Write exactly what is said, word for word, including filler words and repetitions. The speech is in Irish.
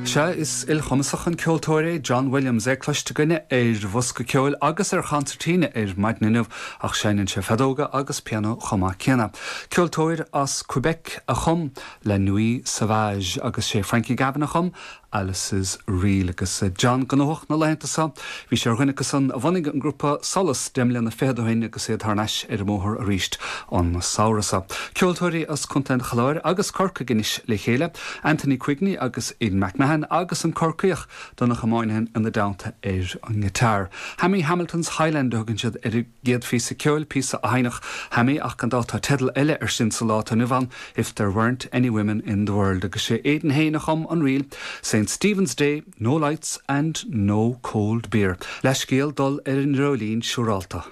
Sea is ilchumasach an ceoltóir é John Williams é cloiste againne ar bhosca ceoil agus ar chonsairtín ar maidin inniu ach seinneann sé feadóga agus pianó chomh maith céanna. Ceoltóir as Quebec a chum La Nuit Sauvage agus sé Frankie Gavin a chum Alice's Reel agus John gnóthach na laethanta seo, Bhí sé ar dhuine acusan a bhunaigh an grúpa Solas deich mbliana fichead ó shin agus iad thar n-ais ar an mbóthar arís an samhradh seo. Ceoltóirí as Contae an Chláir agus Corcaigh anois le chéile, Anthony Quigney agus Aidan McMahon agus an Corcaíoch Donncha Moynihan ina dteannta ar an ngiotár. Hammy Hamilton's Highland a thugann siad ar a gcéad phíosa ceoil píosa a sheinneadh Hammy ach gan dabht tá teideal eile air sin sa lá atá inniu ann if there weren't any women in the world agus sé Aidan féin a chum an ríl, St. Stephen's Day, no lights and no cold beer. Leithscéal dul ar an dreoilín siúrálta.